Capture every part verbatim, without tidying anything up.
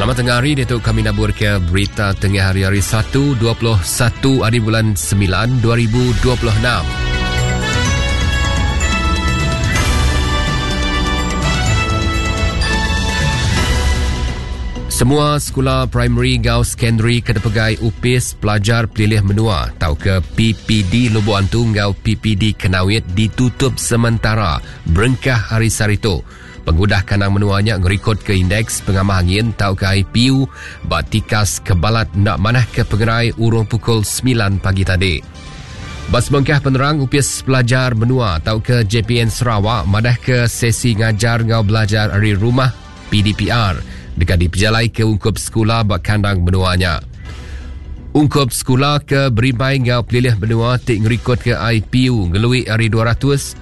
Selamat tengah hari, itu kami nabur ke berita tengah hari hari Satu, dua puluh satu hari bulan sembilan, dua ribu dua puluh enam. Semua sekolah primary gau secondary kedepegai upis pelajar pelilih menua atau ke P P D Lubok Antu gau P P D Kenawit ditutup sementara berengkah hari Sarito. Pengudah kanang menuanya ngerikod ke indeks pengamah angin tau ke I P U batikas kebalat nak manah ke pengerai urung pukul sembilan pagi tadi. Bas bengkah penerang upis pelajar menua tau ke J P N Sarawak madah ke sesi ngajar ngau belajar hari rumah P D P R dekat dipejalai ke ungkup sekolah bak kandang menuanya. Ungkup sekolah ke berimbai ngau pelilih menua tik ngerikod ke I P U ngelui hari dua ratus,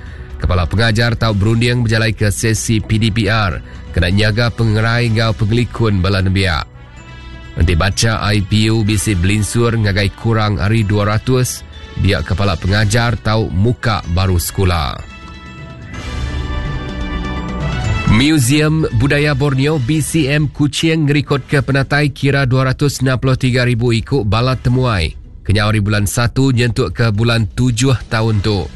kepala pengajar tau berunding berjalai ke sesi P D P R kena nyaga pengerai ngau pengelikun bala nembiak. Nanti baca I P U bisi belinsur ngagai kurang hari dua ratus, dia kepala pengajar tau muka baru sekolah. Museum Budaya Borneo B C M Kuching ngerikod ke penatai kira dua ratus enam puluh tiga ribu ikut bala temuai kenyau hari bulan satu nyentuk ke bulan tujuh tahun tu.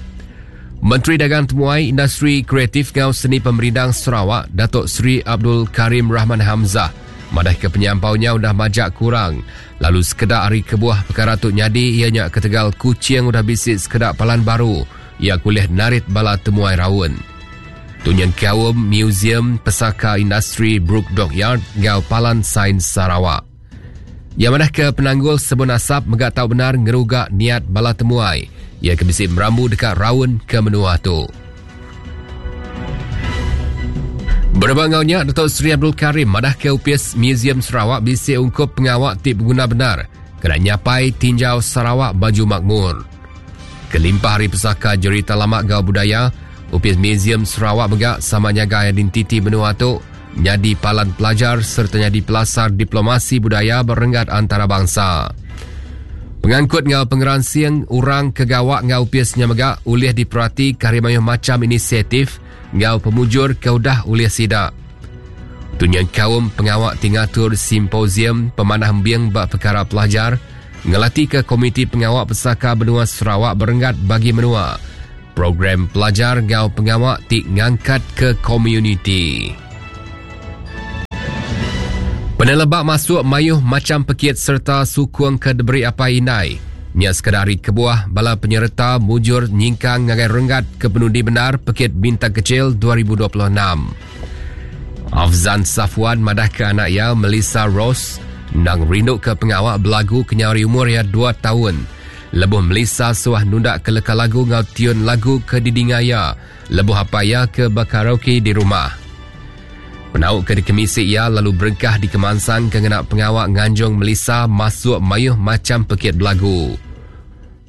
Menteri Dagang Temuai Industri Kreatif Ngau Seni Pemerindang Sarawak Datuk Seri Abdul Karim Rahman Hamzah madah ke penyampaunya udah majak kurang lalu sekedak hari kebuah perkara tu nyadi ianya ketegal Kuching udah bisik sekedak palan baru ia kuliah narit bala temuai raun. Tunyan Kaum Museum Pesaka Industri Brooke Dockyard ngau Palan Sains Sarawak. Yang mana ke penanggul sebun asap megak tahu benar ngerugak niat bala temuai. Ia kebisik merambu dekat raun ke menua tu. Berbangaunya Datuk Seri Abdul Karim madah ke U P S Museum Sarawak bisik ungkup pengawak tip guna benar kena nyapai tinjau Sarawak baju makmur. Kelimpah hari pesaka jerita lama gau budaya, U P S Museum Sarawak megak sama nyaga identiti menua tu nyadi palan pelajar serta nyadi pelasar diplomasi budaya berenggat antarabangsa. Pengangkut ngau pengeransing orang kegawak ngau U P S-nya megak ulih diperhati karimayuh macam inisiatif ngau pemujur keudah ulih sidak. Tunyan kaum pengawak tingatur simposium pemanah embiang bak perkara pelajar ngelati ke Komiti Pengawak Pesaka Benua Sarawak berenggat bagi menua. Program pelajar ngau pengawak tik ngangkat ke komuniti. Penelebak masuk mayuh macam pekit serta sukung ke diberi apa inai. Nya sekadar hari kebuah bala penyerta mujur nyingkang ngagai renggat ke penundi benar pekit bintang kecil dua ribu dua puluh enam. Afzan Safwan madah ke anak ia Melissa Rose nang rindu ke pengawak belagu kenyari umur ia dua tahun. Lebuh Melissa suah nundak ke leka lagu ngau tiun lagu ke didingaya. Lebuh apa ia ke berkaraoke di rumah. Penauk ke dikemisi ia lalu berengkah di kemansang ke ngena pengawak nganjung Melissa masuk mayuh macam pekit belagu.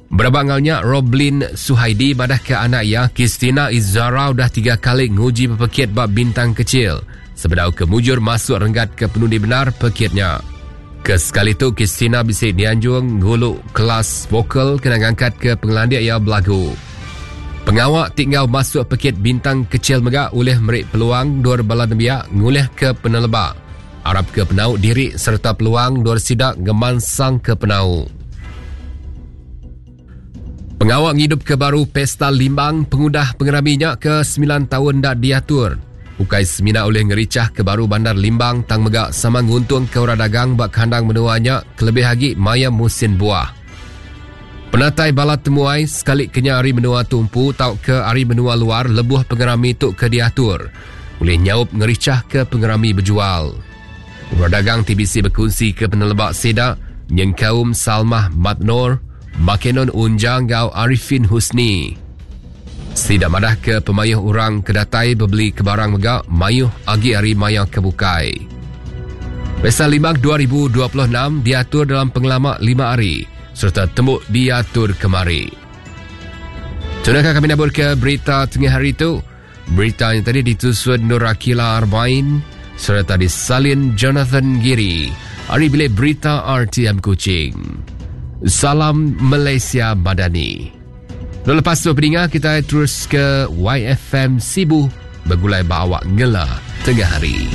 Berabangaunya Roblin Suhaidi madah ke anak ia Kristina Izara udah tiga kali nguji pekit bab bintang kecil. Sebedau kemujur masuk renggat ke penundi benar pekitnya. Kesekali tu Kristina bisik dianjung nguluk kelas vokal kena ngangkat ke pengelandik ia belagu. Pengawak tinggal masuk pekit bintang kecil megak oleh merik peluang dua bala nembiak ngulih ke penelebak. Arab ke penau diri serta peluang dua sidak ngemansang ke penau. Pengawak ngidup ke baru Pesta Limbang pengudah pengeraminya ke sembilan tahun dak diatur. Ukai semina oleh ngericah ke baru bandar Limbang tang megak sama nguntung ke orang dagang bak kandang menuanya kelebih lagi maya musim buah. Penatai bala temuai sekali kenya hari menua tumpu tau ke hari menua luar lebuh pengerami tuk ke diatur. Boleh nyaup ngericah ke pengerami berjual. Orang dagang T B C berkongsi ke penelebak sedak nyengkaum Salmah Matnor, Makenon Unjang gau Arifin Husni. Sidak madah ke pemayuh orang kedatai berbeli ke barang megak mayuh agi hari maya kebukai. Pesta Limbang dua ribu dua puluh enam diatur dalam pengelamak lima hari serta tembuk diatur kemari. Tunakah kami nabur ke berita tengah hari itu? Berita yang tadi ditusun Nur Akila Arbain serta disalin Jonathan Giri. Hari bilik berita R T M Kuching. Salam Malaysia Madani. Lalu lepas tu pendengar kita terus ke Y F M Sibu bergulai bawak ngela tengah hari.